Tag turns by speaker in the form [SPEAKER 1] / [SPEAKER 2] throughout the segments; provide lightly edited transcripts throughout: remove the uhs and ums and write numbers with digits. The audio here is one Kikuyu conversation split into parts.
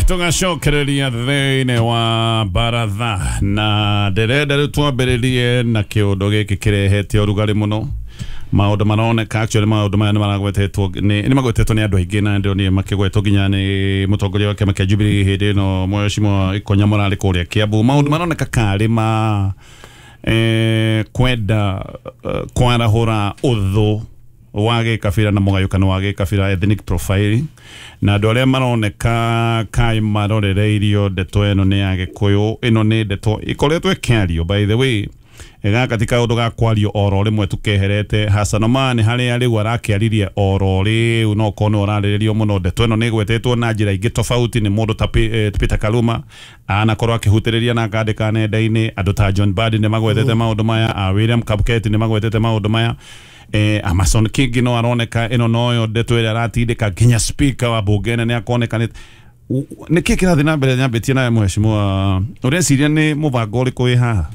[SPEAKER 1] Tũgacokereria thĩinĩ wa baratha na ndĩrenda rĩu twambĩrĩrie na kĩũndũ gĩkĩ kĩrehete ũrugarĩ mũno. Maũndũ maroneka actually maũndũ maya nĩ maragwetetwo nĩ magwetetwo nĩ andũ aingĩ na ndĩronire makĩgwetwo nginya nĩ mũtongoria wa kĩama kĩa Jubilee hĩndĩ ĩno Mheshimiwa Ikonya mũrarĩ kũrĩa Kiambu. Maũndũ maroneka karĩ ma kwenda kwarahũra ũthũ wa gĩkabira na mũgayũkano wa gĩkabira, ethnic profiling, na andũ arĩa maroneka kaĩ marorereirio ndeto ĩno nĩ ya Gĩkũyũ. Ĩno nĩ ndeto ĩkoretwo ĩkĩario, by the way, gaka ti kaũndũ ga kwario oro rĩmwe tukeherete. Hassan Omar harĩa rĩu arakĩaririe oro rĩu no korwo nĩ ũrarĩrĩrio mũno. Ndeto ĩno nĩ ĩgwetetwo na njĩra ingĩ tofauti nĩ mũndũ ta Peter Kaluma, anakorwo akĩhutĩrĩria na akandĩka nenda-inĩ. Andũ ta John Mbadi nĩ magwetete maũndũ maya, a William Kapketi nĩ magwetete maũndũ maya, Amason Kingi no aroneka ĩno noyo ndeto ĩrĩa aratindĩka nginya speaker wa bunge nĩ akoneka. Nĩ kĩ kĩrathiĩ na mbere? Nyambĩtie nawe mheshimiwa, ũreciria nĩ mũbango ũrĩkũ wĩ haha?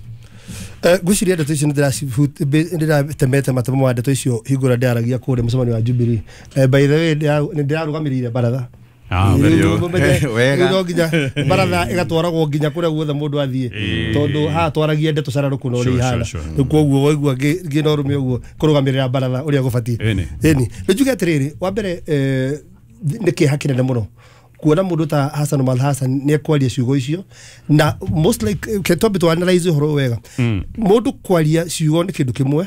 [SPEAKER 2] Ngwĩciria ndeto icio nĩndĩratemete matemo ma ndeto icio hingo ĩrĩa ndĩaragia kũrĩa mũcemanio wa Jubilee. By the way, nĩ ndĩrarũgamĩrĩire baratha.
[SPEAKER 1] Ah, very good.
[SPEAKER 3] Wega.
[SPEAKER 2] No nginya baratha ĩgatwaragwo nginya kũrĩa guothe mũndũ athiĩ, tondũ haha twaragia ndeto cararũkũ na ũrĩa ihana. Rĩu koguo waigua ngĩna ũrũme ũguo kũrũgamĩrĩra baratha ũrĩa gũbatiĩ. Ĩni nĩ njuge atĩrĩrĩ, wa mbere, nĩ kĩeha kĩnene mũno kuona mũndũ ta Hassan Omar Hassan nĩ ekwaria ciugo icio, na most like ke twambe tu analyze ũhoro ũyũ wega. Mũndũ kwaria ciugo nĩ kĩndũ kĩmwe,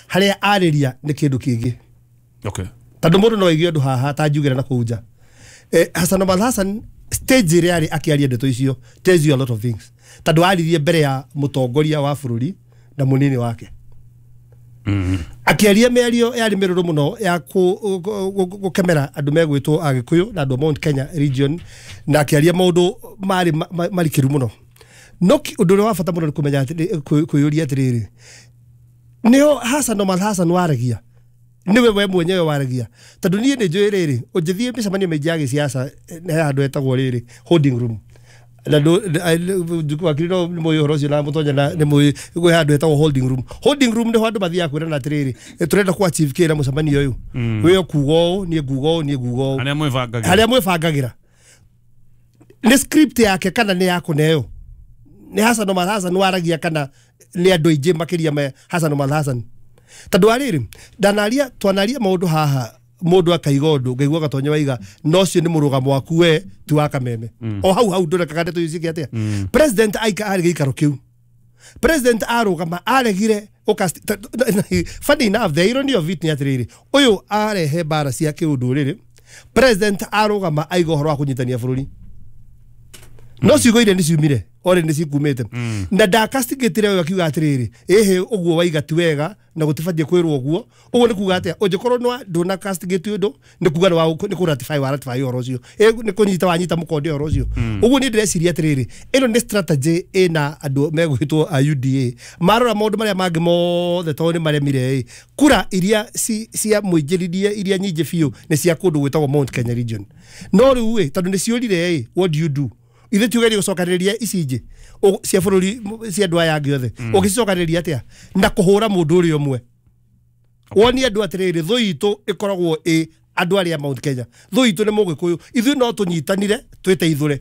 [SPEAKER 2] harĩa arĩria nĩ kĩndũ kĩngĩ. Tondũ mũndũ no aigue ũndũ haha ta njugĩra na kũu nja. Hassan Omar Hassan stage ĩrĩa arĩ akĩaria ndeto icio tells you a lot of things, tondũ aririe mbere ya mũtongoria wa bũrũri na mũnini wake, akĩaria mĩario yarĩ mĩrũrũ mũno ya gũkemera andũ megwĩtwo Agĩkũyũ na andũ a Mount Kenya region, na akĩaria maũndũ marĩ marikĩru mũno. No ũndũ ũrĩa wa bata mũno nĩ kũmenya kwĩyũria atĩrĩrĩ, nĩho Hassan Omar Hassan waragia nĩwe we mwenyewe waragia? Tondũ niĩ nĩ njũĩ rĩrĩ, ũngĩthiĩ mĩcemanio mĩingĩ ya gĩciaca, he handũ hetagwo rĩrĩ holding room, na wakiri no nĩ mũĩ ũhoro ũcio na mũtonya na nĩ mũĩ gwĩ handũ hetagwo holding room. Holding room nĩho andũ mathiaga kwĩrana atĩrĩrĩ, tũrenda ku achieve kĩ na mũcemanio ũyũ, wĩ ũkuga ũũ, niĩ nguga ũũ, niĩ nguga ũũ.
[SPEAKER 1] Harĩa mwĩbangagĩra.
[SPEAKER 2] Harĩa mwĩbangagĩra nĩ script yake kana nĩ ya kũneo? Nĩ Hassan Omar Hassan waragia kana nĩ andũ aingĩ makĩria me Hassan Omar Hassan? Tondũ arĩrĩ ndanaria, twanaria maũndũ haha, mũndũ akaiga ũndũ ngaigua gatonya waiga no ũcio nĩ mũrũgamo waku we ti wa kameme. O hau hau ndũrekaga ndeto icio ciĩke atĩa. President aika arĩ gĩikaro kĩu, president arũgama aregire funny enough, the irony of it nĩ atĩrĩrĩ, ũyũ arehe mbara cia kĩũndũrĩrĩ, president arũgama aiga ũhoro wa kũnyitania bũrũri, no ciugo iria nĩ ciumire ore nĩ cikumĩte na ndakastigĩtire ũyũ akiuga atĩrĩrĩ, ĩhĩ ũguo waiga ti wega na gũtibatiĩ kwĩrwo ũguo. Ũguo nĩ kuga atĩa? Ũngĩkorwo nĩ ndũna castigate ũndũ, nĩ kuga nĩ kũ ratify wa ratify ũhoro ũcio, nĩ kũnyita wanyita mũkonde ũhoro ũcio. Ũguo niĩ ndĩreciria atĩrĩrĩ, ĩno nĩ strategy ĩna andũ megwĩtwo a UDA marora maũndũ marĩa mangĩ mothe tondũ nĩ maremire. Ĩ kura iria cia mũingĩririe iria nyingĩ biũ nĩ cia kũndũ gwĩtagwo Mount Kenya region, no rĩu ĩ tondũ nĩ ciũrire ĩ, what do you do? Ithuĩ tugerie gũcokanĩrĩria ici ingĩ cia bũrũri cia andũ aya angĩ othe, ũngĩcicokanĩrĩria atĩa na kũhũra mũndũ ũrĩa ũmwe? Wonie andũ atĩrĩrĩ, thũ itũ ĩkoragwo ĩ andũ arĩa Mount Kenya, thũ itũ nĩ mũgĩkũyũ, ithuĩ no tũnyitanire twĩteithũre.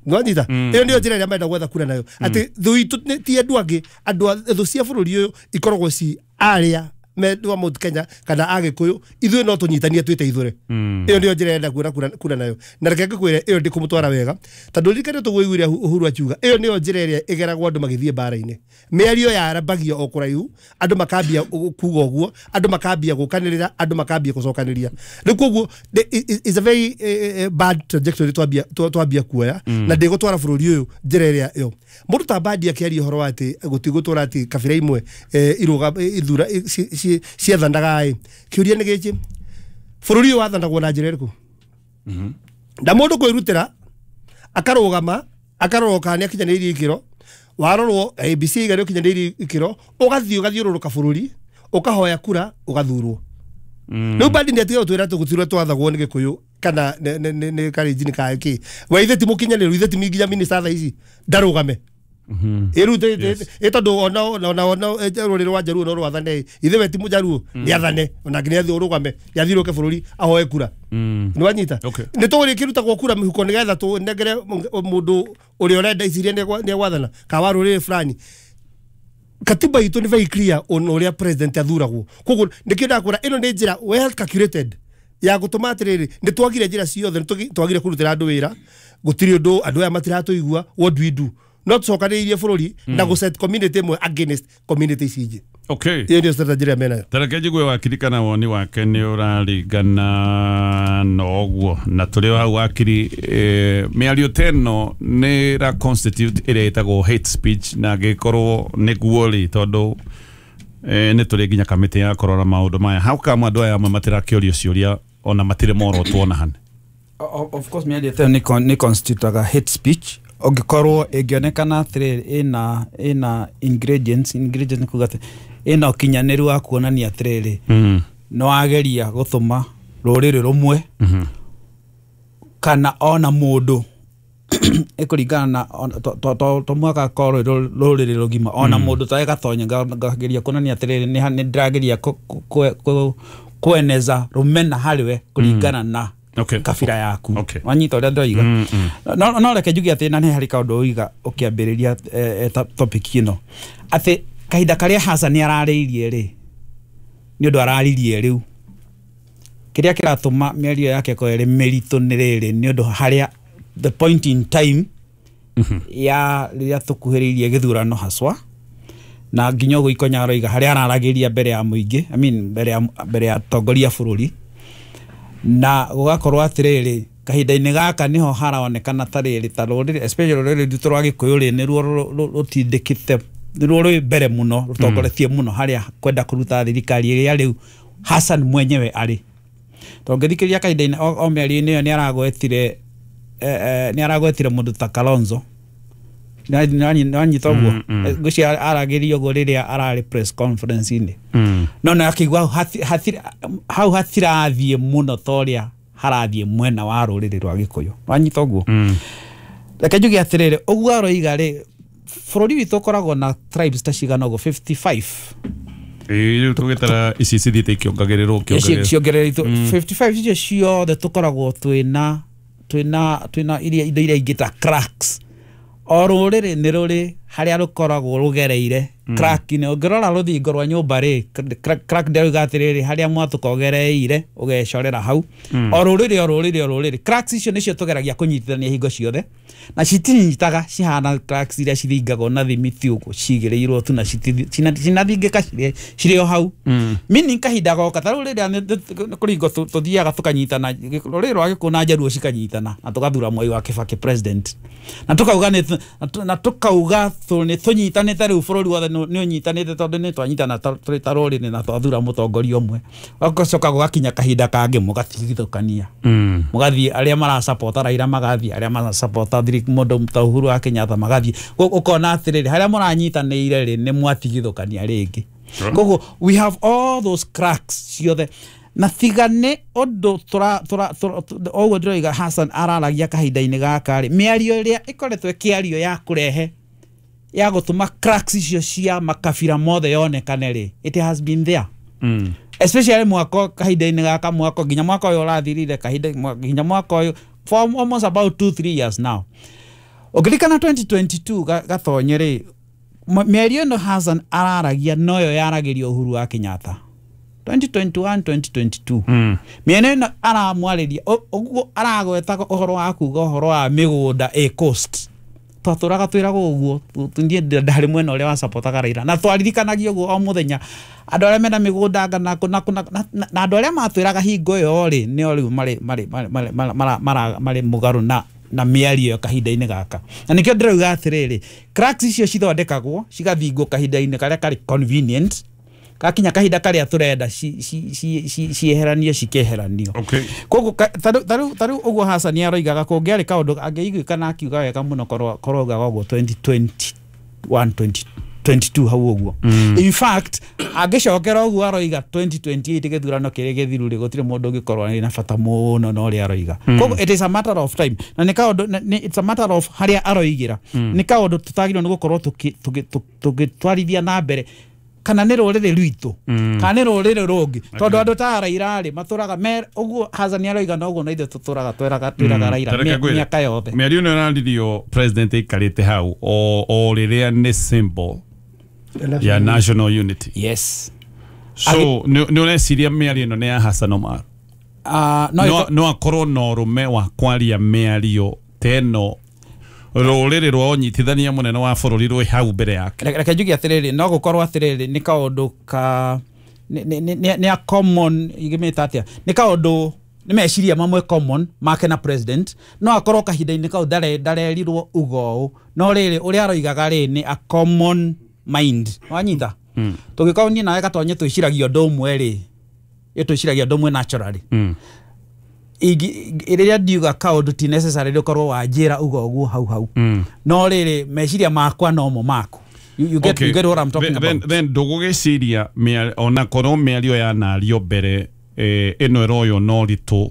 [SPEAKER 2] Nwanyita ĩyo nĩyo njĩra ĩrĩa marenda gwetha kura nayo, atĩ thũ itũ ti andũ angĩ, andũ thũ cia bũrũri ũyũ ikoragwo ci arĩa me wa Mount Kenya kana agĩkũyũ, ithuĩ no tũnyitanie twĩteithũre. Ĩyo nĩyo njĩra ĩrenda kuona kura nayo, na reke ngĩkwĩre ĩyo ndĩkũmũtwara wega, tondũ ririkane tũgũiguire Uhuru akiuga ĩyo nĩyo njĩra ĩrĩa ĩgeragwo andũ magĩthiĩ mbara-inĩ. Mĩario yarambagia o kũraihu, andũ makambia kuga ũguo, andũ makambia gũkanĩrĩra, andũ makambia gũcokanĩria. Rĩu koguo is a very bad trajectory twambia kuoya, na ndĩgũtwara bũrũri ũyũ njĩra ĩrĩa ĩyo. Mũndũ ta Mbadi akĩaria ũhoro wa atĩ gũtigũtũra atĩ kabira imwe irũga ithura ciathanaga ĩ, kĩũria nĩ gĩkĩ, bũrũri ũyũ wathanagwo na njĩra ĩrĩkũ? Na mũndũ kwĩrutĩra akarũgama akarorwo kana nĩ akinyanĩirie ikĩro, warorwo ABC iga nĩ ũkinyanĩirie ikĩro, ũgathiĩ ũgathiũrũrũka bũrũri ũkahoya kura ũgathurwo. Rĩu Mbadi nĩ atiga gũtwĩra atĩ gũtirĩ twathagwo nĩ Gĩkũyũ kana nĩ Kalenjin kana kĩ, we ithe ti mũkinyanĩru, ithe ti nginya minister thaa ici ndarũgame. Ĩrĩu ĩ tondũ ona rũrĩrĩ rwa Njaruo no rwathane, ithe we ti Mũjaruo, nĩ athane ona nginya athiĩ ũrũgame, nĩ athiũrũke bũrũri ahoe kura. Nĩ wanyita? Nĩ tũĩ kĩrutagwo kura mĩhuko nĩgetha tũnengere mũndũ ũrĩa ũrenda iciria nĩ egwathana kana wa rũrĩrĩ fulani. Katiba itũ nĩ very clear on ũrĩa president athuragwo. Koguo nĩkĩo ndakwĩra ĩno nĩ njĩra well calculated ya gũtũma atĩrĩrĩ, nĩ twagire njĩra ciothe, nĩ twagire kũrutĩra andũ wĩra, gũtirĩ ũndũ, andũ aya matiratũigua, what do we do? No tũcokanĩrĩirie bũrũri na gũ set community ĩmwe against community ici ingĩ. Ĩyo nĩyo strategy ĩrĩa menayo.
[SPEAKER 1] Tareke njigue wakiri kana woni wake nĩ ũraringana na ũguo, na tũrĩ o hau wakiri, mĩario ta ĩno nĩ ĩra constitute ĩrĩa ĩtagwo hate speech, na angĩkorwo nĩguo rĩ, tondũ nĩ tũrĩ nginya kamĩtĩ ya kũrora maũndũ maya, how come andũ aya amwe matirakĩũrio ciũria ona matirĩ morotwo ona hane?
[SPEAKER 3] Of course mĩario ta ĩyo nĩ constitutaga hate speech ũngĩkorwo ĩngĩonekana atĩrĩrĩ ĩna ingredients nĩ kuga atĩ ĩna ũkinyanĩru wa kuonania atĩrĩrĩ nĩ wageria gũtũma rũrĩrĩ rũmwe kana ona mũndũ ĩkũringana na to mwaka korwo rũrĩrĩ rũgima ona mũndũ ta gatonya ngageria kuonania atĩrĩrĩ nĩ ndĩrageria kweneza rũmena harĩwe kũringana na kabira yaku. Wanyita ũrĩa ndĩroiga? No reke njuge atĩ na nĩ harĩ kaũndũ ũiga ũkĩambĩrĩria topic ĩno atĩ kahinda karĩa Hassan ararĩirie rĩ, nĩ ũndũ araririe rĩu kĩrĩa kĩratũma mĩario yake ĩkorwo ĩrĩ mĩritũ nĩ rĩrĩ, nĩ ũndũ harĩa the point in time ya rĩrĩa tũkuhĩrĩirie gĩthurano haswa, na nginya ũguo Ikonya aroiga harĩa araragĩria mbere ya mũingĩ, I mean mbere ya atongoria bũrũri, na gũgakorwo atĩrĩrĩ kahinda-inĩ gaka nĩho haronekana ta rĩrĩ ta rũrĩrĩ especially rũrĩrĩ rwitũ rwa Gĩkũyũ rĩ, nĩruo rũtindĩkĩte, nĩruo rwĩ mbere mũno, rũtongoretie mũno harĩa kwenda kũruta thirikari ĩrĩa rĩu Hassan mwenyewe arĩ. Tondũ ngĩthikĩrĩria kahinda-inĩ o mĩario-inĩ ĩyo nĩ aragwetire mũndũ ta Kalonzo. Nĩwanyita ũguo? Ngwĩciria aragĩria ũguo rĩrĩa ararĩ press conference-inĩ. No na akĩigua hau hatirathiĩ mũno ta ũrĩa harathiĩ mwena wa rũrĩrĩ rwa Gĩkũyũ. Wanyita ũguo? Reke njuge atĩrĩrĩ, ũguo aroiga rĩ, bũrũri witũ ũkoragwo na tribes ta cigana ũguo 55.
[SPEAKER 1] Rĩu tũgĩtara ici cithiĩte ikĩongagĩrĩrwo, ikĩongagĩrĩrwo.
[SPEAKER 3] Ciongereretwo 55 icio ciothe tũkoragwo twĩna iria indo iria ingĩ ta cracks. O rũrĩrĩ nĩ rũrĩ harĩa rũkoragwo rũgereire crack-inĩ. Ũngĩrora rũthingo rwa nyũmba rĩ, crack ndĩrauga atĩrĩrĩ, harĩa mwatũka ũgereire ũgecorera hau. O rũrĩrĩ o rũrĩrĩ o rũrĩrĩ cracks icio nĩcio tũgeragia kũnyitithania hingo ciothe, na citinyitaga, cihana cracks iria cithingagwo na thimiti ũguo cigĩrĩirwo tu na cinathingĩka cirĩ o hau. Meaning kahinda goka ta rĩu rĩrĩa kũringwo tũthiaga tũkanyitana, rũrĩrĩ rwa Gĩkũyũ na Njaruo cikanyitana na tũgathura Mwai wa Kibaki president, na tũkauga na tũkauga nĩ tũnyitanĩte rĩu bũrũri wothe nĩ ũnyitanĩte tondũ nĩ twanyitana tũrĩ ta rũrĩrĩ na twathura mũtongoria ũmwe. Gũgacoka gũgakinya kahinda kangĩ mũgatigithũkania, mũgathiĩ arĩa marasapota Raila magathiĩ, arĩa marasapota mũndũ ta Uhuru wa Kenyatta magathiĩ. Ũkona atĩrĩrĩ, harĩa mũranyitanĩire rĩ, nĩ mwatigithũkania rĩngĩ. Koguo we have all those cracks ciothe, na tiga nĩ ũndũ ũguo ndĩroiga Hassan araragia kahinda-inĩ gaka rĩ, mĩario ĩrĩa ĩkoretwo ĩkĩario ya kũrehe ya gũtũma cracks icio cia makabira mothe yonekane rĩ, it has been there. Especially mwaka kahinda-inĩ gaka, mwaka nginya mwaka ũyũ ũrathirire, kahinda nginya mwaka ũyũ for almost about 2-3 years now. Ũngĩririkana 2022 Gatonye rĩ, mĩario ĩno Hassan araragia noyo yaragĩrio Uhuru wa Kenyatta 2021 2022. Mĩena ĩno aramwarĩria ũguo aragweta ũhoro wa kuga ũhoro wa mĩgũnda ĩ coast, twatũraga twĩragwo ũguo, niĩ ndarĩ mwena ũrĩa wasapotaga Raila, na twaririkanagia ũguo o mũthenya andũ arĩa mena mĩgũnda anga na na andũ arĩa matwĩraga hingo ĩyo rĩ, nĩo rĩu marĩ mũgarũ na mĩario ĩyo kahinda-inĩ gaka. Na nĩkĩo ndĩrauga atĩrĩrĩ, cracks icio cithondekagwo cigathingwo kahinda-inĩ karĩa karĩ convenient, gakinya kahinda karĩa tũrenda cieheranio cikeheranio. Koguo tarĩu ũguo Hassan aroigaga kũngĩarĩ kaũndũ angĩiguĩka na akiuga wega mũno korwo augaga ũguo 2021 22 hau ũguo. In fact, angĩcokera ũguo aroiga 2028 gĩthurano kĩrĩa gĩthiru rĩ, gũtirĩ mũndũ ũngĩkorwo arĩ na bata mũno na ũrĩa aroiga. Koguo it is a matter of time, na nĩ kaũndũ it's a matter of harĩa aroigĩra. Nĩ kaũndũ tũtagĩrĩirwo nĩ gũkorwo tũgĩtwarithia na mbere, kana nĩ rũrĩrĩ rwitũ kana nĩ rũrĩrĩ rũngĩ, tondũ andũ ta Raila rĩ matũraga ũguo Hassan aroiga na ũguo, na ithuĩ tũtũraga twĩraga Raila mĩaka yothe.
[SPEAKER 1] Mĩario ĩno ĩraririo president aikarĩte hau o rĩrĩa nĩ symbol ya national unity.
[SPEAKER 3] Yes.
[SPEAKER 1] So nĩ ũreciria mĩario ĩno nĩ ya Hassan Omar? No akorwo na ũrũme wa kwaria mĩario ta ĩno rũrĩrĩ rwa ũnyitithania mũnene wa bũrũri rwĩ hau mbere yake.
[SPEAKER 3] Reke njuge atĩrĩrĩ, no gũkorwo atĩrĩrĩ nĩ kaũndũ ka nĩ a common, ingĩmĩta atĩa, nĩ kaũndũ nĩ meciria mamwe common make na president, no akorwo kahinda-inĩ kau ndarerirwo uga ũũ, no rĩrĩ ũrĩa aroigaga rĩ nĩ a common mind. Wanyita? Tũngĩkorwo niĩ nawe Gatonye twĩciragia ũndũ ũmwe rĩ, twĩciragia ũndũ ũmwe naturally. Rĩrĩa ndiuga kaũndũ ti necessary ũkorwo wanjĩra uga ũguo hau hau, no rĩrĩ meciria makwa nomo maku. You get, okay. You get what I'm talking about.
[SPEAKER 1] Then ndũgũgĩciria ona korwo mĩario yanario mbere ĩno ĩroywo na ũritũ,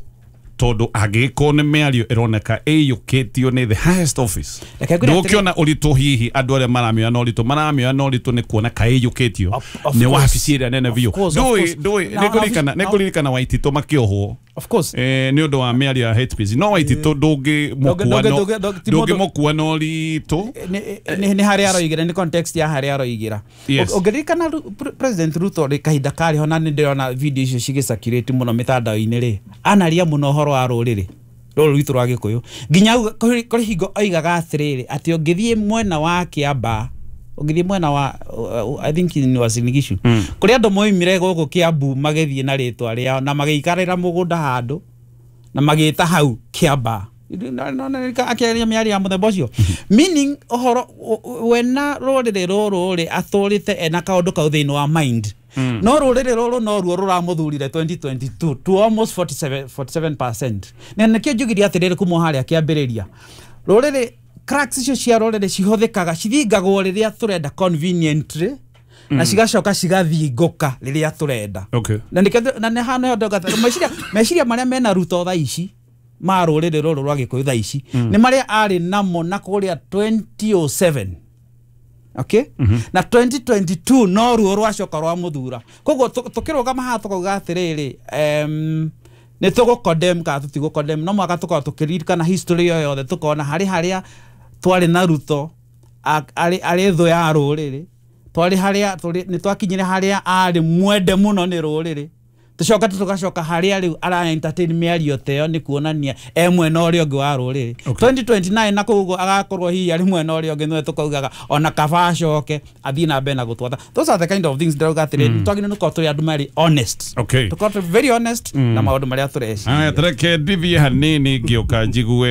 [SPEAKER 1] tondũ angĩgĩkorwo nĩ mĩario ĩroneka ĩiyũkĩtio nĩ the highest office, ndũgũkĩona ũritũ hihi andũ arĩa maramĩoya na ũritũ maramĩoya na ũritũ nĩ kuona kaĩ ĩiyũkĩtio nĩ wabici ĩrĩa nene biũ. Ndũĩ nĩngũririkana Waititũ makĩohwo.
[SPEAKER 3] Of course.
[SPEAKER 1] Nĩ ũndũ wa mĩario ya hate speech. No Waititũ ndũngĩmũkua na ũritũ.
[SPEAKER 3] Nĩ harĩa aroigĩra, nĩ context ya harĩa aroigĩra. Ũngĩririkana President Ruto rĩ kahinda karĩ ho, na nĩ ndĩrona video icio cigĩcirculate mũno mĩtandao-inĩ rĩ, anaria mũno ũhoro wa rũrĩrĩ rũrũ rwitũ rwa Gĩkũyũ, nginya kũrĩ hingo oigaga atĩrĩrĩ atĩ ũngĩthiĩ mwena wa Kĩambaa, ũngĩthiĩ mwena wa I think in Uasin Gishu, kũrĩ andũ moimire gũkũ Kĩambu magĩthiĩ na rĩtwa rĩao na magĩikarĩra mũgũnda handũ na magĩta hau Kĩambaa. Akĩaria mĩario ya mũthemba ũcio, meaning ũhoro wena rũrĩrĩ rũrũ rĩ atũrĩte ena kaũndũ kau thĩinĩ wa mind. No rũrĩrĩ rũrũ noruo rũramũthurire 2022 to almost 47%. Na nĩkĩo njugire atĩrĩrĩ kuma harĩa kĩambĩrĩria, rũrĩrĩ cracks icio cia rũrĩrĩ cihũthĩkaga cithingagwo rĩrĩa tũrenda conveniently, na cigacoka cigathingũka rĩrĩa tũrenda. Na nĩkĩo na nĩ hana ndoga meciria marĩa mena Ruto thaa ici ma rũrĩrĩ rũrũ rwa Gĩkũyũ thaa ici nĩ marĩa arĩ namo na kũrĩa 2007. Okay? Na 2022 no ruo rwacoka rwa muthura. Koguo tukirugama haha tukauga atĩrĩrĩ, nĩ tũgũ-condemn kana tũtigũ-condemn, no mũhaka tũkorwo tũkĩririkana history ĩyo yothe, tũkona harĩ harĩa twarĩ na Ruto arĩ thũ ya rũrĩrĩ, twarĩ harĩa nĩ twakinyire harĩa arĩ mwende mũno nĩ rũrĩrĩ, tũcoka tũgacoka harĩa rĩu ara entertain mĩario ta ĩyo nĩ kuonania e mwena ũrĩa ũngĩ wa rũrĩrĩ. 2029 na kũu ũguo agakorwo hihi arĩ mwena ũrĩa ũngĩ, nĩwe tũkaugaga ona kaba acoke athiĩ na mbere na gũtwatha. Those are the kind of things ndĩrauga atĩrĩrĩ, nĩ twagĩrĩirwo nĩ gũkorwo tũrĩ andũ marĩ honest. Tũkorwo tũrĩ very honest na maũndũ marĩa tũreciria.
[SPEAKER 1] Aya, tareke ndithiĩ hanini ngĩũka njigue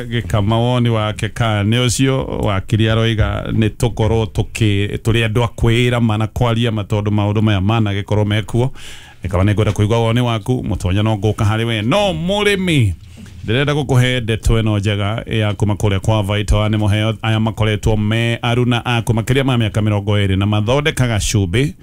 [SPEAKER 1] gĩkama woni wake kana nĩ ũcio wakiri aroiga nĩ tũkorwo tũrĩ andũ a kwĩra mana kwaria ma tondũ maũndũ maya managĩkorwo mekuo. Ĩkaba nĩ ngwenda kũigua woni waku mũtonya no ngũka harĩ we. No mũrĩmi ndĩrenda gũkũhe ndeto ĩno njega ya kuma kũrĩa kwa Vital Animal Health. Aya makoretwo me aruna aku makĩria ma mĩaka 20 na mathondekaga cumbĩ,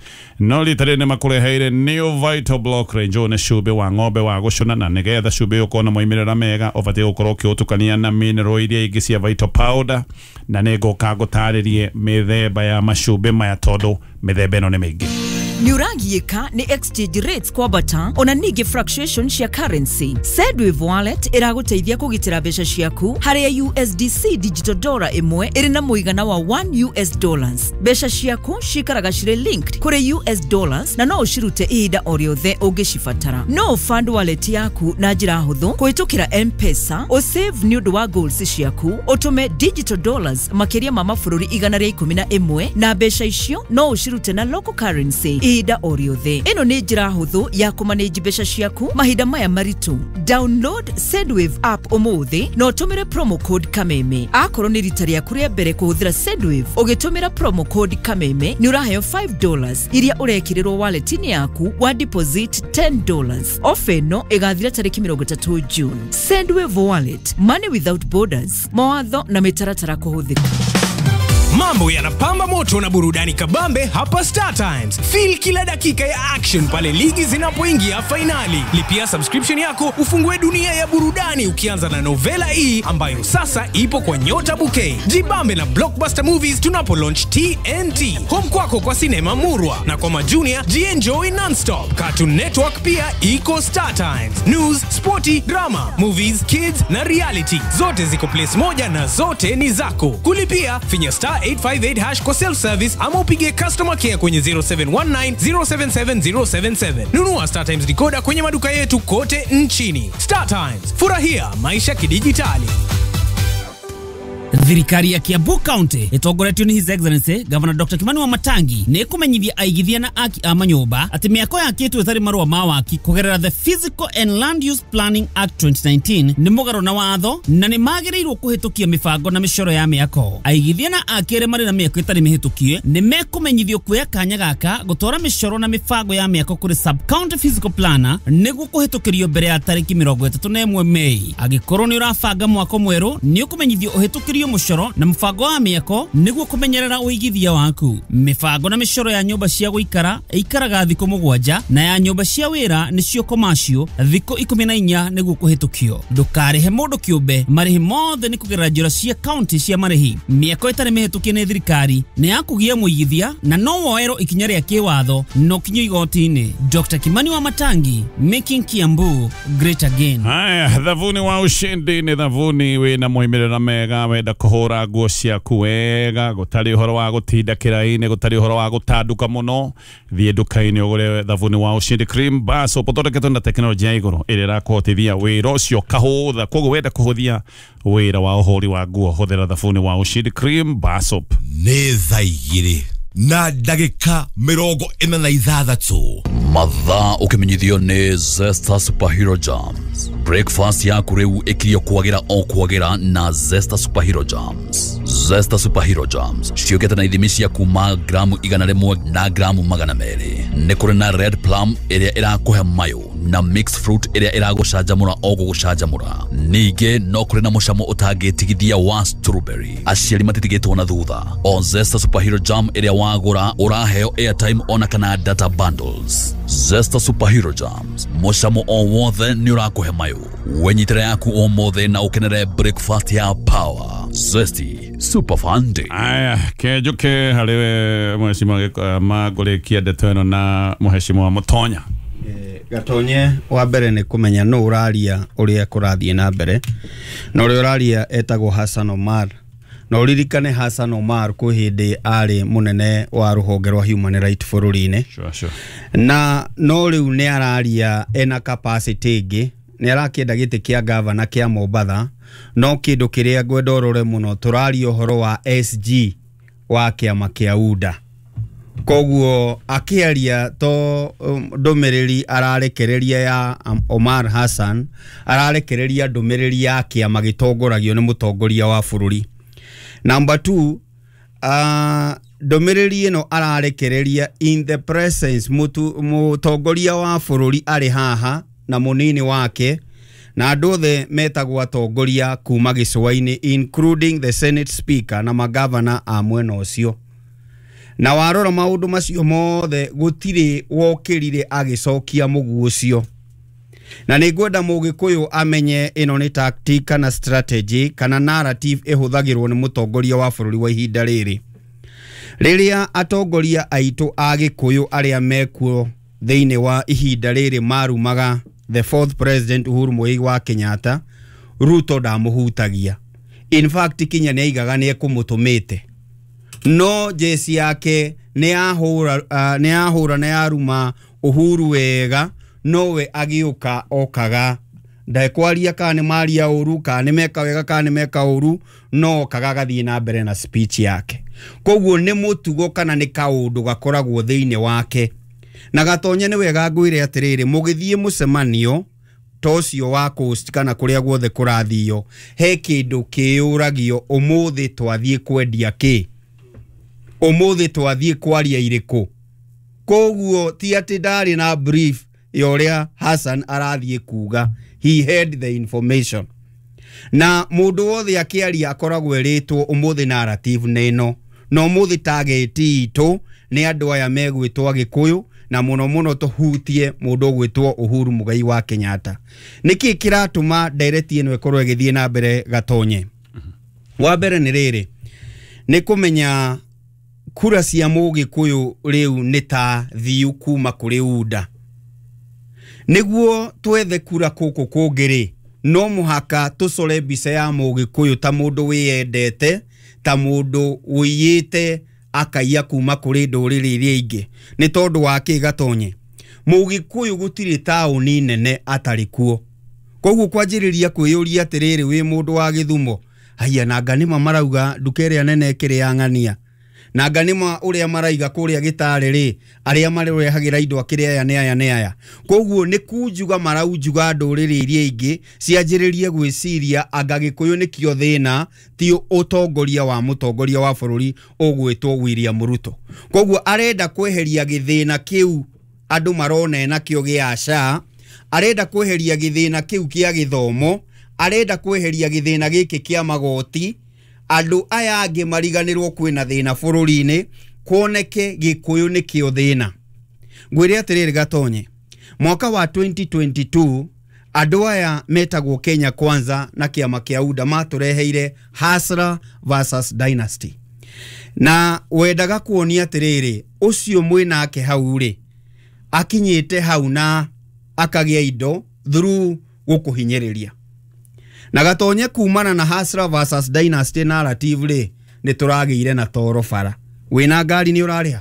[SPEAKER 1] no rita rĩrĩ nĩ makũreheire New Vital Block Range. Ũyũ nĩ cumbĩ wa ng'ombe wa gũcũna, na nĩgetha cumbĩ ũkorwo na moimĩrĩra mega ũbatiĩ gũkorwo ũkĩũtukania na mineral iria ingĩ cia Vital Powder, na nĩ ngũka ngũtarĩrie mĩthemba ya macumbĩ maya tondũ mĩthemba ĩno nĩ mĩingĩ.
[SPEAKER 4] Nĩũragiĩka nĩ exchange rates kwambata ona ningĩ fluctuation cia currency. Sendwave Wallet ĩragũteithia kũgitĩra mbeca ciaku harĩa USDC digital dollar ĩmwe ĩrĩ na mũigana wa 1 US dollars. Mbeca ciaku cikaraga cirĩ linked kũrĩ US dollars na no ũcirute ihinda o rĩothe ũngĩcibatara. No fund wallet yaku na njĩra hũthũ kũhĩtũkĩra M-Pesa, ũsave nĩ ũndũ wa goals ciaku, ũtũme digital dollars makĩria ma mabũrũri 111 na mbeca icio no ũcirute na local currency ihinda o rĩothe. Ĩno nĩ njĩra hũthũ ya kũmanage mbeca ciaku mahinda maya maritũ. Download Sendwave app ũmũthĩ na ũtũmĩre promo code Kameme. Akorwo nĩ rita rĩaku rĩa mbere kũhũthĩra Sendwave, ũgĩtũmĩra promo code Kameme nĩ ũraheo $5 iria ũrekĩrĩrwo wallet-inĩ yaku wa deposit $10. Ofa ĩno ĩgathira tarĩki 30 June. Sendwave Wallet, money without borders. Mawatho na mĩtaratara kũhũthĩka.
[SPEAKER 5] Mambo yanapamba moto na burudani kabambe hapa Star Times. Feel kila dakika ya action pale ligi zinapoingia fainali. Lipia subscription yako ufungue dunia ya burudani ukianza na Novela E ambayo sasa ipo kwa Nyota Bouquet. Jibambe na Blockbuster Movies tunapo launch TNT. Home kwako kwa sinema Murwa na kwa majunia jienjoy nonstop. Cartoon Network pia iko Star Times. News, sporty, drama, movies, kids na reality. Zote ziko place moja na zote ni zako. Kulipia finya star 858 hash kwa self service ama upige customer care kwenye 0719 077 077. Nunua Star Times decoder kwenye maduka yetu kote nchini. Star Times, furahia maisha kidijitali.
[SPEAKER 6] Thirikari ya Kiambu County itongoretio ni His Excellency Governor Dr. Kimani Wamatangi ni ikumenyithia aigithia na aki a manyumba ati miako yakitwo ĩtarĩ marũa ma waki kũgerera the Physical and Land Use Planning Act 2019 nĩ mũgarũ na watho na nĩ magĩrĩirwo kũhĩtũkia mĩbango na mĩcoro ya mĩako. Aigithia na aki arĩa marĩ na mĩako ĩtarĩ mĩhĩtũkie nĩ mekũmenyithio kuoya kanya gaka gũtwara mĩcoro na mĩbango ya mĩako kũrĩ sub county physical planner nĩguo kũhĩtũkĩrio mbere ya tarĩki 31 Mei. Angĩkorwo nĩ ũrabanga mwako mwerũ nĩ ũkũmenyithio ũhĩtũkĩrio mũcoro na mũbango wa mĩako nĩguo kũmenyerera ũigithia waku. Mĩbango na mĩcoro ya nyũmba cia gũikara ĩikaraga thikũ 7 na ya nyũmba cia wĩra nĩcio commercial thikũ 14 nĩguo kũhĩtũkio. Ndũkarĩhe mũndũ kĩũmbe, marĩhi mothe nĩ kũgerera njĩra cia county cia marĩhi. Mĩako ĩtarĩ mĩhĩtũkie nĩ thirikari nĩ ya kũgia mũigithia na no woerwo ikinya rĩa kĩwatho no kinyo igoti-inĩ. Dr. Kimani Wamatangi, making Kiambu great again.
[SPEAKER 1] Haya, thavuni wa ushindi ni thavuni wina moimĩrĩra mega wenda kũhũra nguo ciaku wega gũtarĩ ũhoro wa gũtinda kĩraĩ-inĩ gũtarĩ ũhoro wa gũtanduka mũno. Thiĩ nduka-inĩ ũgũre thavuni wa ushindi cream bar soap ũthondeketwo na tekinoronjĩ ya igũrũ ĩrĩa ĩrakũhotithia wĩra ũcio kahũtha. Koguo wenda kũhũthia wĩra wa ũhũri wa nguo hũthĩra thabuni wa ushindi cream bar soap.
[SPEAKER 7] Nĩ thaa 2 na ndagĩka 46.
[SPEAKER 8] Mathaa ũkĩmenyithio nĩ Zesta Superhero Jams. Breakfast yaku rĩu ĩkirio kwagĩra o kwagĩra na Zesta Superhero Jams. Zesta Superhero Jams ciũkĩte na ithimi cia kuma gramu 100 na gramu 200. Nĩ kũrĩ na red plum ĩrĩa ĩrakũhe mayũ na mixed fruit ĩrĩa ĩragũcanjamũra o gũgũcanjamũra. Ningĩ no kũrĩ na mũcamo ũtangĩtigithia wa strawberry. Aciari matitigĩtwo na thutha. O Zesta Superhero Jam ĩrĩa wagũra ũraheo airtime ona kana data bundles. Zesta Superhero Jams, mũcamo o wothe nĩ ũrakũhe mayũ. Wenyitĩre yaku ũmũthĩ na ũkenere breakfast ya power. Zesty Super Fun Day.
[SPEAKER 1] Aya, kenjuke harĩ mheshimiwa Mangũrĩkia ndeto ĩno na mheshimiwa Mũtonya.
[SPEAKER 9] Gatonye wa mbere nĩ kũmenya nũ ũraria ũrĩa kũrathiĩ na mbere, na ũrĩa ũraria etagwo Hassan Omar. Na ũririkane Hassan Omar kwĩ hĩndĩ arĩ mũnene wa rũhonge rwa human right bũrũri-inĩ.
[SPEAKER 1] Sure, sure.
[SPEAKER 9] Na no rĩu nĩ araria ena capacity ĩngĩ, nĩ arakĩenda gĩtĩ kĩa gavana kĩa Mombatha, no kĩndũ kĩrĩa ngwenda ũrore mũno tũraria ũhoro wa SG wa kĩama kĩa UDA. Koguo akĩaria to ndũmĩrĩri ararekereria ya Omar Hassan, ararekereria ndũmĩrĩri ya kĩama gĩtongoragio nĩ mũtongoria wa bũrũri. Number 2, ndũmĩrĩri ĩno ararekereria in the presence mũtongoria wa bũrũri arĩ haha na mũnini wake na andũ othe metagwo atongoria kuma gĩcũa-inĩ including the Senate Speaker na magavana a mwena ũcio. Na warora maũndũ macio mothe gũtirĩ wokĩrire agĩcokia mũguo ũcio. Na nĩ ngwenda mũgĩkũyũ amenye ĩno nĩ tactic kana strategy kana narrative ĩhũthagĩrwo nĩ mũtongoria wa bũrũri wa ihinda rĩrĩ. Rĩrĩa atongoria aitũ a gĩkũyũ arĩa mekuo thĩinĩ wa ihinda rĩrĩ marumaga the fourth president Uhuru Muigai wa Kenyatta, Ruto ndamũhutagia. In fact kinya nĩ aigaga nĩ ekũmũtũmĩte. No jesi yake nĩ yahũra na yaruma Uhuru wega, nowe agĩũka okaga ndekwaria kana nĩ maria ũru kana nĩ meka wega kana nĩ meka ũru, no okaga agathiĩ na mbere na speech yake. Koguo nĩ mũtugo kana nĩ kaũndũ gakoragwo thĩinĩ wake. Na Gatonye nĩ wega ngwĩre atĩrĩrĩ, mũgĩthiĩ mũcemanio ta ũcio wa coast kana kũrĩa guothe kũrathio, he kĩndũ kĩyũragio ũmũthĩ twathiĩ kwendia kĩ, ũmũthĩ twathiĩ kwaria irĩkũ. Koguo ti atĩ ndarĩ na brief ya ũrĩa Hassan arathiĩ kuga, he had the information. Na mũndũ wothe akĩaria akoragwo erĩtwo ũmũthĩ narrative nĩ ĩno, Na ũmũthĩ target itũ nĩ andũ aya megwĩtwo Agĩkũyũ, na mũno mũno tũhutie mũndũ ũgwĩtwo Uhuru Muigai wa Kenyatta. Nĩkĩ kĩratũma ndereti ĩno ĩkorwo ĩgĩthiĩ na mbere, Gatonye? Wa mbere nĩ rĩrĩ, nĩ kũmenya kura cia Mũgĩkũyũ rĩu nĩ ta thiu kuma kũrĩ UDA. Nĩguo twethe kura kũkũ kũngĩ rĩ, no mũhaka tũcore mbica ya Mũgĩkũyũ ta mũndũ wĩyendete, ta mũndũ ũiyĩte akaiya kuma kũrĩ ndũrĩrĩ iria ingĩ. Nĩ tondũ wa kĩ, Gatonye? Mũgĩkũyũ gũtirĩ taũni nene atarĩ kuo. Koguo kwanjĩrĩria kwĩyũria atĩrĩrĩ, wĩ mũndũ wa Gĩthumo, haiya, nanga nĩma marauga nduka ĩrĩa nene ĩkĩrĩ ya ng'ania, nanga nĩma ũrĩa maraiga kũrĩa gĩtarĩ rĩ, arĩa marehagĩra indo akĩrĩ aya nĩ aya nĩ aya. Koguo nĩ kunjuga maraunjuga ndũrĩrĩ iria ingĩ cianjĩrĩrie gwĩciria anga Gĩkũyũ nĩkĩo thĩna, ti ũtongoria wa mũtongoria wa bũrũri ũgwĩtwo William Ruto. Koguo arenda kweheria gĩthĩna kĩu andũ marona nakĩo gĩa SHA, arenda kweheria gĩthĩna kĩu kĩa gĩthomo, arenda kweheria gĩthĩna gĩkĩ kĩa magoti, andũ aya angĩ mariganĩrwo kwĩna thĩna bũrũri-inĩ, kuoneke Gĩkũyũ nĩkĩo thĩna. Ngwĩre atĩrĩrĩ, Gatonye, mwaka wa 2022 andũ aya metagwo Kenya Kwanza na kĩama kĩa UDA matũreheire Hustler versus Dynasty, na wendaga kuonia atĩrĩrĩ, ũcio mwĩnake hau rĩ, akinyĩte hau na akagĩa indo through gũkũhinyĩrĩria. Na Gatonye, kumana na Hustler versus Dynasty narrative rĩ, nĩ tũragĩire na toro bara. Wĩna ngari nĩ ũrarĩha.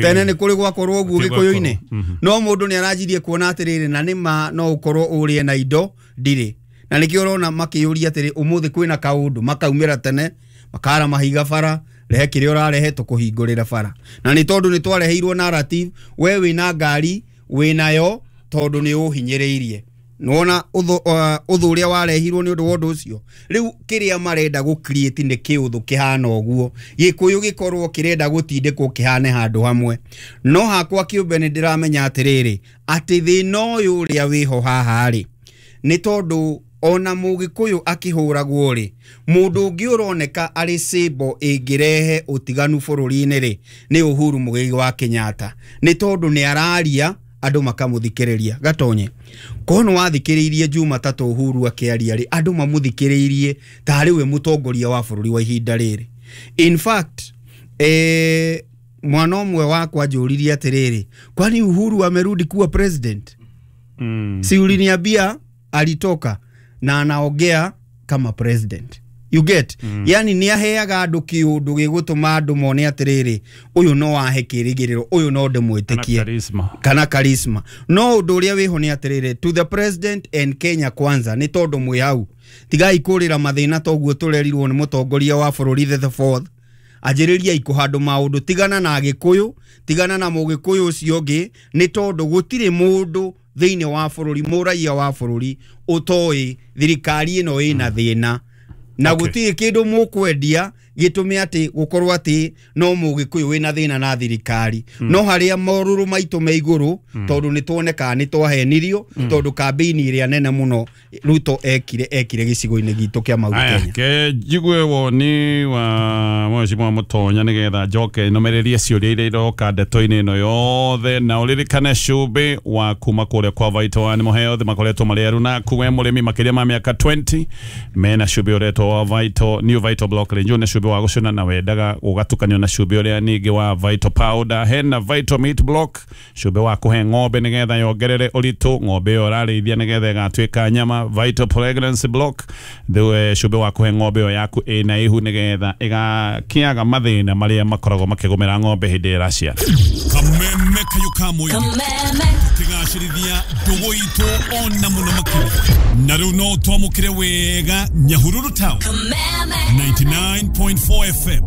[SPEAKER 9] Tene nĩ kũrĩ gwakorwo ũguo Gĩkũyũ-inĩ? No mũndũ nĩ aranjirie kuona atĩrĩrĩ, na nĩma no ũkorwo ũrĩe na indo ndirĩ. Na nĩkĩo ũrona makĩyũria atĩrĩ, ũmũthĩ kwĩna kaũndũ, makaumĩra tene, makara mahiga bara, rehe kĩrĩa ũrarehe tũkũhingũrĩra bara. Na nĩ tondũ nĩ twareheirwo narrative, we wĩna ngari wĩnayo tondũ nĩ ũhinyĩrĩirie. Nĩwona ũthũ ũrĩa warehirwo nĩ ũndũ wa ũndũ ũcio. Rĩu kĩrĩa marenda gũ create nĩ kĩũthũ kĩhana ũguo, Gĩkũyũ gĩkorwo kĩrenda gũtindĩkwo kĩhane handũ hamwe. No hakwa kĩũmbe nĩ ndĩramenya atĩrĩrĩ, atĩ thĩna ũyũ ũrĩa wĩho haha rĩ, nĩ tondũ ona Mũgĩkũyũ akĩhũragwo rĩ, mũndũ ũngĩ ũroneka arĩ symbol ĩngĩrehe ũtiganu bũrũri-inĩ rĩ, nĩ Uhuru Muigai wa Kenyatta. Nĩ tondũ nĩ araria andũ makamũthikĩrĩria. Gatonye, korwo nĩ wathikĩrĩirie Jumatatũ Uhuru akĩaria rĩ, andũ mamũthikĩrĩirie tarĩ we mũtongoria wa bũrũri wa ihinda rĩrĩ. In fact, mwana ũmwe wakwa anjũririe atĩrĩrĩ, kwani Uhuru amerudi kuwa president? Si uliniambia alitoka na anaongea kama president. You get? Yani nĩ aheaga andũ kĩũndũ gĩgũtũma andũ mone atĩrĩrĩ, ũyũ no ahe kĩrĩgĩrĩro, ũyũ no ndĩmwĩtĩkie.
[SPEAKER 1] Charisma.
[SPEAKER 9] Kana charisma. No ũndũ ũrĩa wĩho nĩ atĩrĩrĩ, to the president and Kenya Kwanza, nĩ tondũ mwĩ hau, tigai kũrĩra mathĩna toguo tũrerirwo nĩ mũtongoria wa bũrũri the fourth. Anjĩrĩriai kũhandũ maũndũ, tigana na Gĩkũyũ, tigana na Mũgĩkũyũ ũcio ũngĩ, nĩ tondũ gũtirĩ mũndũ thĩinĩ wa bũrũri, mũraiya wa bũrũri ũtoĩ thirikari ĩno ĩna thĩna, na gũtirĩ kĩndũ mũkwendia gĩtũme atĩ gũkorwo atĩ no Mũgĩkũyũ wĩna thĩna na thirikari. No harĩa morũrũ maitũ me igũrũ, tondũ nĩ tuonekaga nĩ twahenirio, tondũ kambĩini ĩrĩa nene mũno Ruto ekire gĩcigo-inĩ gitũ kĩa Mount
[SPEAKER 1] Aya,
[SPEAKER 9] Kenya.
[SPEAKER 1] Ke njigue woni wa mheshimiwa Mutonya nigetha njoke nomererie ciũria iria iroka ndeto-inĩ ĩno yothe. Na ũririkane cumbĩ wa kuma kũrĩa kwa Vital One Mũheo othe makoretwo marĩ erũ naku we mũrĩmi makĩria ma mĩaka 20 mena cumbĩ ũretwo wa Vital New Vital Block Range. Nĩ cumbĩ wa gũcũna na wendaga ũgatukanio na cumbĩ ũrĩa ningĩ wa Vital Powder. Hena Vital Meat Block, cumbĩ wa kũhe ng'ombe nĩgetha yongerere ũritũ ng'ombe ĩyo ũrarĩithia nĩgetha ĩgatuĩka nyama. Vital Pregnancy Block, cumbĩ wa kũhe ng'ombe ĩyo yaku ĩna ihu nĩgetha ĩgakĩaga mathĩna marĩa makoragwo makĩgũmĩra ng'ombe hĩndĩ ĩrĩa ĩraciara.
[SPEAKER 7] Kameme kayo ka mũingĩ tũkĩgacĩrithia ndũgũ itũ ona mũno makĩria. Na rĩu no twamũkĩre wega Nyahururu Town 99.4 FM.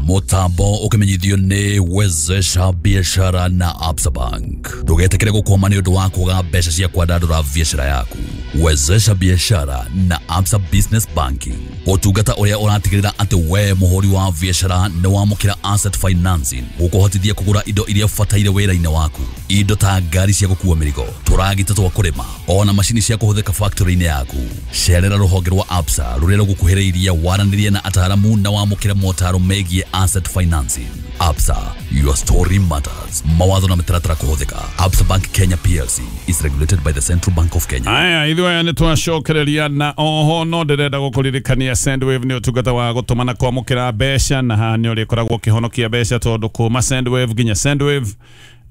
[SPEAKER 8] Mutambo ukimenyithio nĩ wezesha biashara na Absa Bank. Ndũgetĩkĩre gũkwama nĩ ũndũ wa kwaga mbeca cia kwandandũra biashara yaku. Wezesha biashara na Absa Business Banking, ũtungata ũrĩa ũratigĩrĩra atĩ we mũhũri wa biacara nĩ wamũkĩra asset financing gũkũhotithia kũgũra indo iria ũbataire wĩra-inĩ waku, indo ta ngari cia gũkua mĩrigo, tũragita twa kũrĩma, ona macini cia kũhũthĩka factory-inĩ yaku. Cerera rũhonge rwa Absa rũrĩa rũgũkuhĩrĩirie, waranĩrie na ataaramu na wamũkĩre motaro megiĩ asset financing. Absa, your story matters. Mawatho na mĩtaratara kũhũthĩka. Absa Bank Kenya PLC is regulated by the Central Bank of Kenya.
[SPEAKER 1] Aya, ithuĩ aya nĩ twacokereria na oho no ndĩrenda gũkũririkania Sendwave nĩ ũtungata wa gũtũma na kwamũkĩra mbeca, na haha nĩ ũrĩkoragwo ũkĩhonokia mbeca tondũ kuma Sendwave nginya Sendwave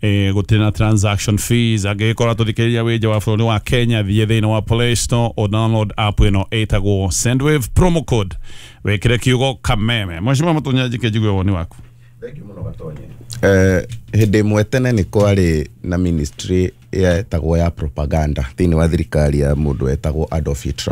[SPEAKER 1] gũtirĩ na transaction fees. Angĩgĩkorwo tũthikĩrĩria wĩ nja wa bũrũri wa Kenya, thiĩ thĩinĩ wa Play Store o download app ĩno ĩtagwo Sendwave, promo code wĩkĩre kiugo kameme. Mheshimiwa Mũtũnyanjike, njigue woni waku.
[SPEAKER 10] Hĩndĩ ĩmwe tene nĩ kwarĩ na ministry yetagwo ya propaganda thĩinĩ wa thirikari ya mũndũ wetagwo Adolf Hitler.